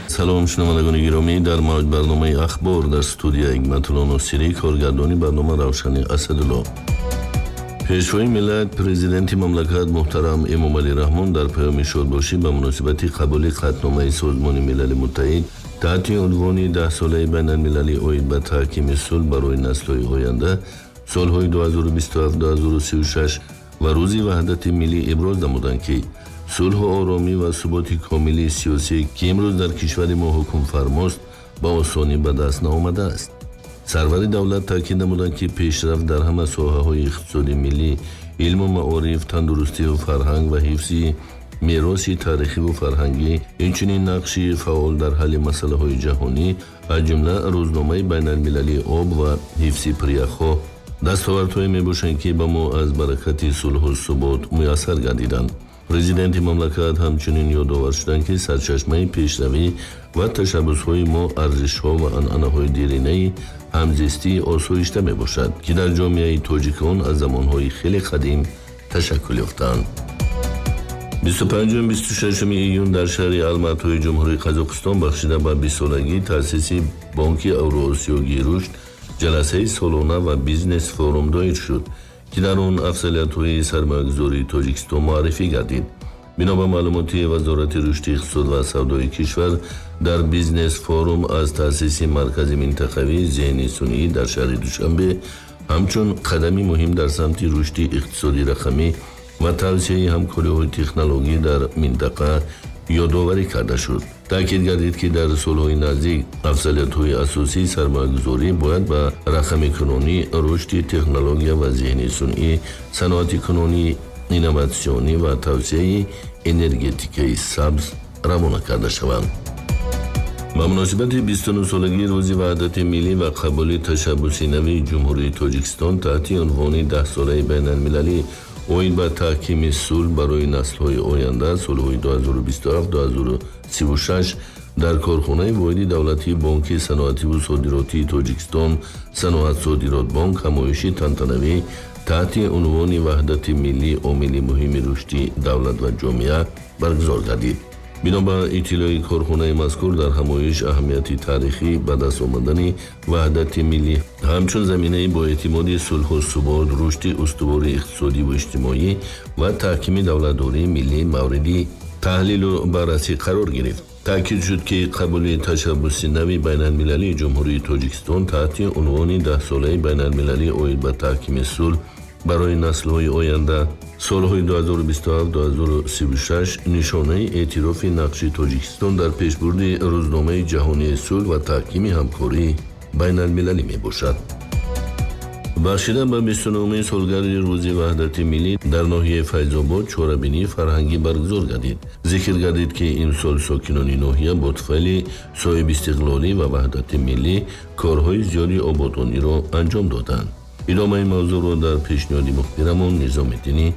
Салом, шунавандагони гиромӣ, дар мавҷ барномаи «Ахбор», дар студия Ҳикматулло Носирӣ, коргардони барнома Равшани Асадулло. Пешвои миллат, президенти мамлакат муҳтарам Эмомалӣ Раҳмон дар паёми шодбошӣ ба муносибати қабули қатъномаи Созмони Милали Муттаҳид таҳти унвони Даҳсолаи байналмилалӣ оид ба таҳкими сулҳ барои наслҳои оянда, солҳои 2027-2036 ва Рӯзи ваҳдати миллӣ иброз намуданд, ки сулҳу оромӣ ва суботи комили сиёсӣ, ки имрӯз дар кишвари мо ҳукмфармост, ба осонӣ ба даст наомадааст. Сарвари давлат таъкид намуданд, ки пешрафт дар ҳама соҳаҳои иқтисоди миллӣ, илму маориф, тандурустиву фарҳанг ва ҳифзи мероси таърихиву фарҳангӣ, инчунин нақши фаъол дар ҳалли масъалаҳои ҷаҳонӣ, аз ҷумла Рӯзномаи байналмилалии об ва ҳифзи пиряхҳо, дастовардҳое мебошанд, ки ба мо аз баракати сулҳу субот муяссар гардиданд. Президенти мамлакат ҳамчунин ёдовар шуданд, ки сарчашмаи пешравӣ ва ташаббусҳои мо арзишҳо ва анъанаҳои деринаи ҳамзистии осоишта мебошад, ки дар ҷомеаи тоҷикон аз замонҳои хеле қадим ташаккул ёфтаанд. 25-26 июн дар шаҳри Алматои Ҷумҳурии Қазоқистон бахшида ба 20-солагии таъсиси Бонки Авроосиёгии рушд ҷаласаи солона ва бизнес форум доир шуд, ки дар он афзалиятҳои сармоягузории Тоҷикистон муаррифӣ гардид. Бино ба маълумоти Вазорати рушди иқтисод ва савдои кишвар, дар бизнес форум аз таъсиси маркази минтақавии зеҳни сунъӣ дар шаҳри Душанбе ҳамчун қадами муҳим дар самти рушди иқтисоди рақамӣ ва тавсеаи ҳамкориҳои технологӣ дар минтақа ёдоварӣ карда шуд. Таъкид гардид, ки дар солҳои наздик афзалиятҳои асосии сармоягузорӣ бояд ба рақамикунонӣ, рушди технология ва зеҳни сунъӣ, саноатикунонӣ, инноватсионӣ ва тавсеаи энергетикаи сабз равона карда шаванд. Ба муносибати 29-солагии Рӯзи ваҳдати миллӣ ва қабули ташаббуси нави Ҷумҳурии Тоҷикистон таҳти унвони Даҳсолаи байналмилалӣ оид ба таҳкими сулҳ барои наслҳои оянда, солҳои 2027-2036 дар корхонаи воҳиди давлатии Бонки саноативу содиротии Тоҷикистон «Саноатсодиротбонк» ҳамоиши тантанавӣ таҳти унвони «Ваҳдати миллӣ — омили муҳими рушди давлат ва ҷомеа» баргузор гардид. Бино ба иттилои корхонаи мазкур, дар ҳамоиш аҳамияти таърихӣ ба даст омадани ваҳдати миллӣ ҳамчун заминаи боэътимоди сулҳу субот, рушди устувори иқтисодиву иҷтимоӣ ва таҳкими давлатдории миллӣ мавриди таҳлилу баррасӣ қарор гирифт. Таъкид шуд, ки қабули ташаббуси нави байналмилалии Ҷумҳурии Тоҷикистон таҳти унвони Даҳсолаи байналмилалӣ оид ба таҳкими сулҳ барои наслҳои оянда, солҳои 2027-2036 нишонаи эътирофи нақши Тоҷикистон дар пешбурди Рӯзномаи ҷаҳонии сулҳ ва таҳкими ҳамкории байналмилалӣ мебошад. Бахшида ба 29-умин солгарди Рӯзи ваҳдати миллӣ дар ноҳияи Файзобод чорабинии фарҳангӣ баргузор гардид. Зикр гардид, ки имсол сокинони ноҳия бо туфайли соҳибистиқлолӣ ва ваҳдати миллӣ корҳои зиёди ободониро анҷом доданд. Идомаи мавзӯъро дар пешниҳоди мухбирамон Низомиддини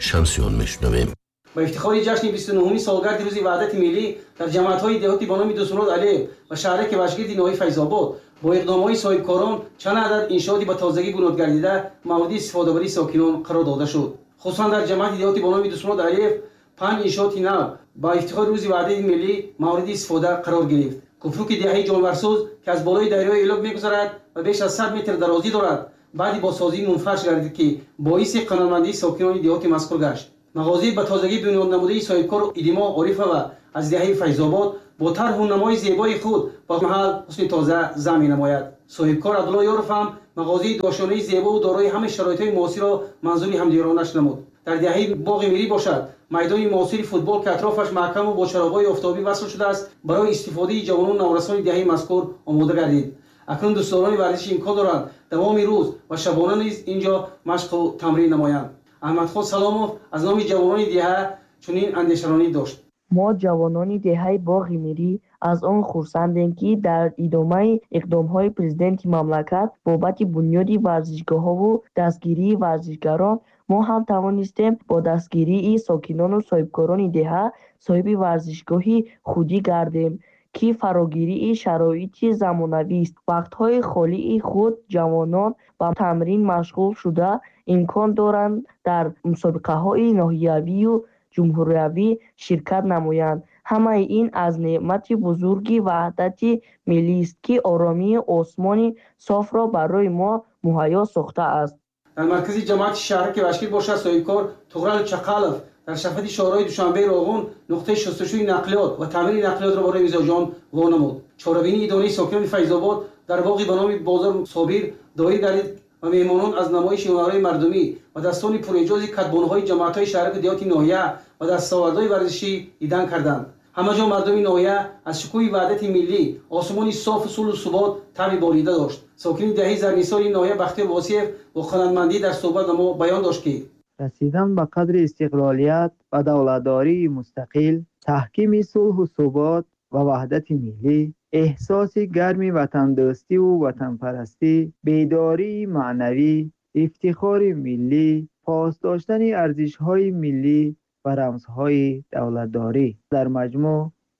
Шамсиён мешунавем. Ба ифтихори ҷашни 29-уми солгарди Рӯзи ваҳдати миллӣ дар ҷамоатҳои деҳоти ба номи Дӯстмурод Алиев ва шаҳраки Вашгирди ноҳияи Файзобод бо иқдомҳои соҳибкорон чанд адад иншооти ба тозагӣ бунёд гардида мавриди истифодабарии сокинон қарор дода шуд. Хусусан дар ҷамоати деҳоти ба номи Дӯстмурод Алиев панҷ иншооти нав ба ифтихори Рӯзи ваҳдати миллӣ мавриди истифода қарор гирифт. Кӯпруки деҳаи Ҷонварсӯз, ки аз болои дарёи Элок мегузарад ва беш аз 100 метр дарозӣ дорад, баъди бозсозӣ мунфарш гардид, ки боиси қаноатмандии сокинони деҳоти мазкур гашт. Мағозаи ба тозагӣ бунёд намудаи соҳибкор Идимо Орифова аз деҳаи Файзобод бо тарҳу намои зебои худ ба маҳал ҳусни тоза зам менамояд. Соҳибкор Абдулло Ёров ҳам мағозаи дошонаи зебову дорои ҳамаи шароитҳои муосирро манзури ҳамдиёронаш намуд. Дар деҳаи Боғи Мирӣ бошад, майдони муосири футбол, ки атрофаш маҳкаму бо чароғҳои офтобӣ васл шудааст, барои истифодаи ҷавонону наврасони деҳаи мазкур омода гардид. Акнун дӯстдорони варзиш имкон доранд давоми рӯз ва шабона низ ин ҷо машқу тамрин намоянд. Аҳмадхон Саломов аз номи ҷавонони деҳа чунин андешаронӣ дошт. Мо, ҷавонони деҳаи Боғи Мирӣ, аз он хурсандем, ки дар идомаи иқдомҳои президенти мамлакат бобати бунёди варзишгоҳҳову дастгирии варзишгарон мо ҳам тавонистем бо дастгирии сокинону соҳибкорони деҳа соҳиби варзишгоҳи худӣ гардем, ки фарогирии шароити замонавист. Вақтҳои холии худ ҷавонон ба тамрин машғул шуда, Имкон доранд дар мусобиқаҳои ноҳиявию ҷумҳуриявӣ ширкат намоянд. Ҳамаи ин аз неъмати бузурги ваҳдати миллист, ки оромию осмони софро барои мо муҳайё сохтааст. Дар маркази ҷамоати шаҳраки Вашкир бошад, соҳибкор Туғрал Чақалов дар шафати шоҳроҳи Душанбеи Роғун нуқтаи шустушӯи нақлиёт ва таъмири нақлиётро барои мизоҷон вонамуд. Чорабинии идонаи сокинони Файзобод дар боғи ба номи Бозор Собир доир гардид ва меҳмонон аз намоиши ҳунарҳои мардумӣ ва дастони пурэъҷози катбонҳои ҷамоатҳои шаҳраку деҳоти ноҳия ва дастовардҳои варзишӣ дидан карданд. Ҳамаҷо мардуми ноҳия аз шукӯҳи ваҳдати миллӣ, осмони софу сулҳу субот таъми болида дошт. Сокини деҳаи Зарнисори ноҳия Бахтиёр Восиев бо қаноатмандӣ дар суҳбат ба мо баён дошт, ки расидан ба қадри истиқлолият ва давлатдории мустақил, таҳкими сулҳу субот ва ваҳдати миллӣ, эҳсоси гарми ватандӯстиву ватанпарастӣ, бедории маънавӣ, ифтихори миллӣ, пос доштани арзишҳои миллӣ ва рамзҳои давлатдорӣ дар маҷмӯъ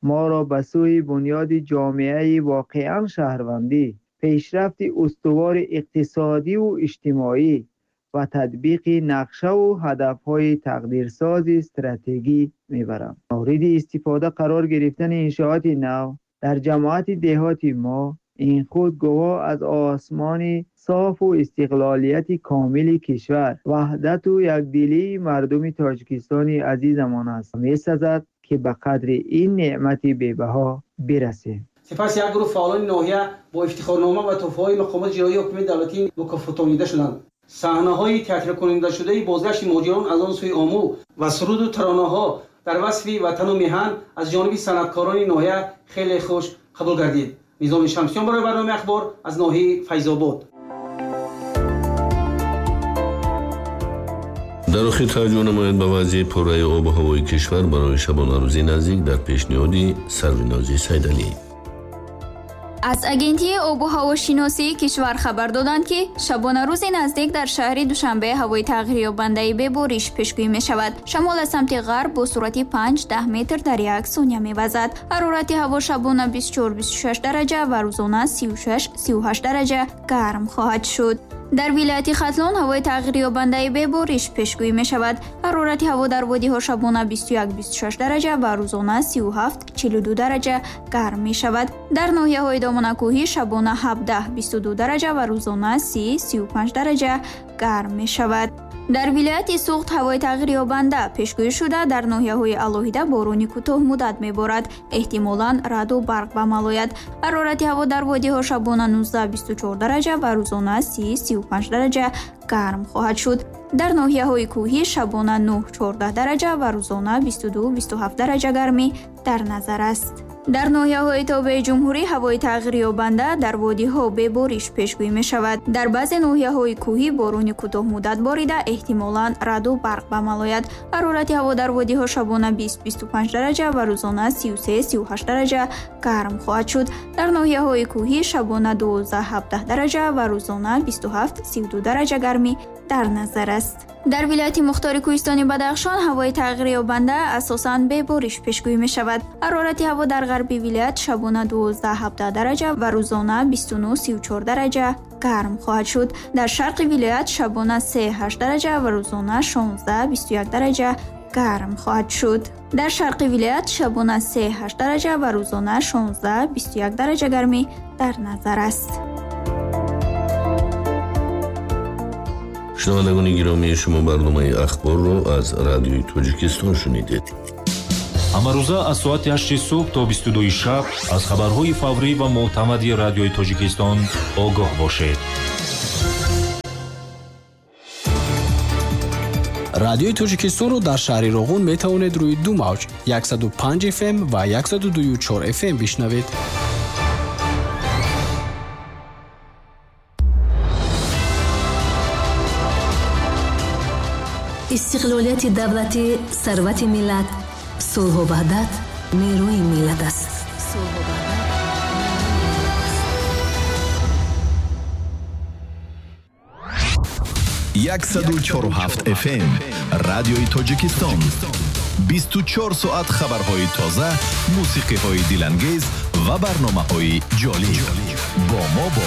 моро ба сӯи бунёди ҷомеаи воқеан шаҳрвандӣ, пешрафти устувори иқтисодиву иҷтимоӣ ва татбиқи нақшаву ҳадафҳои тақдирсози стратегӣ мебаранд. Мавриди истифода қарор гирифтани иншооти нав дар ҷамоати деҳоти мо ин худ гувоҳ аз осмони софу истиқлолияти комили кишвар, ваҳдату якдилии мардуми Тоҷикистони азизамон аст. Месазад, ки ба қадри ин неъмати бебаҳо бирасем. Сипас як гурӯҳ фаъолони ноҳия бо ифтихорнома ва туҳфаҳои мақомоти иҷроии ҳокимияти давлатӣ мукофотонида шуданд. Саҳнаҳои театркунандашудаи бозгашти муҳоҷирон аз он сӯи Омӯ ва суруду таронаҳо дар васфи ватану меҳан аз ҷониби санъаткорони ноҳия хеле хуш қабул гардид. Низоми Шамсиён барои барномаи Ахбор аз ноҳияи Файзобод. Дар охир таваҷҷӯҳ намояд ба вазъи пурраи обу ҳавои кишвар барои шабонарӯзи наздик дар пешниҳоди Сарвинози Сайдалӣ. Аз Агентии обу ҳавошиносии кишвар хабар доданд, ки шабонарӯзи наздик дар шаҳри Душанбе ҳавои тағйирёбандаи бебориш пешгӯӣ мешавад. Шамол аз самти ғарб бо суръати 5-10 метр дар як сония мевазад. Ҳарорати ҳаво шабона 24-26 дараҷа ва рӯзона 36-38 дараҷа гарм хоҳад шуд. Дар вилояти Хатлон ҳавои тағйирёбандаи бебориш пешгӯӣ мешавад. Ҳарорати ҳаво дар водиҳо шабона 21-26 дараҷа ва рӯзона 37-42 дараҷа гарм мешавад. Дар ноҳияҳои доманакӯҳӣ шабона 17-22 дараҷа ва рӯзона 30-35 дараҷа гарм мешавад. Дар вилояти Суғд ҳавои тағйирёбанда пешгӯӣ шуда, дар ноҳияҳои алоҳида борони кӯтоҳмуддат меборад. Эҳтимолан раъду барқ ба амал ояд. Ҳарорати ҳаво дар водиҳо шабона 19-24 дараҷа ва рӯзона 30-35 дараҷа гарм хоҳад шуд. Дар ноҳияҳои кӯҳӣ шабона 9-14 дараҷа ва рӯзона 22-27 дараҷа гармӣ дар назар аст. Дар ноҳияҳои тобеи ҷумҳурӣ ҳавои тағйирёбанда дар водиҳо бебориш пешгӯӣ мешавад. Дар баъзе ноҳияҳои кӯҳӣ борони кӯтоҳмуддат борида, эҳтимолан раъду барқ ба амал ояд. Ҳарорати ҳаво дар водиҳо шабона 20-25 дараҷа ва рӯзона 33-38 дараҷа гарм хоҳад шуд. Дар ноҳияҳои кӯҳӣ шабона 12-17 дараҷа ва рӯзона 27-32 дараҷа гармӣ дар назар аст. Дар вилояти Мухтори Кӯҳистони Бадахшон ҳавои тағйирёбанда асосан бебориш пешгӯӣ мешавад. Ҳарорати ҳаво дар ғарби вилоят шабона 12-17 дараҷа ва рӯзона 29-34 дараҷа гарм хоҳад шуд. Дар шарқи вилоят шабона 3-8 дараҷа ва рӯзона 16-21 дараҷа гарм хоҳад шуд. Дар шарқи вилоят шабона 3-8 дараҷа ва рӯзона 16-21 дараҷа гармӣ дар назар аст. Шунавандагони гиромӣ, шумо барномаи Ахборро аз Радиои Тоҷикистон шунидед. Ҳамарӯза аз соати 8 субҳ то 22 шаб аз хабарҳои фаврӣ ва мӯътамади Радиои Тоҷикистон огоҳ бошед. Радиои Тоҷикистонро дар шаҳри Роғун метавонед рӯи ду мавҷ 105 FM ва 102.4 FM бишнавед. Истиқлолияти давлатӣ сарвати миллат, сулҳу ваҳдат нерӯи миллат аст. 104.7 FM Радиои Тоҷикистон. 24 соат хабарҳои тоза, мусиқиҳои дилангез ва барномаҳои ҷолиб. Бо мо бош.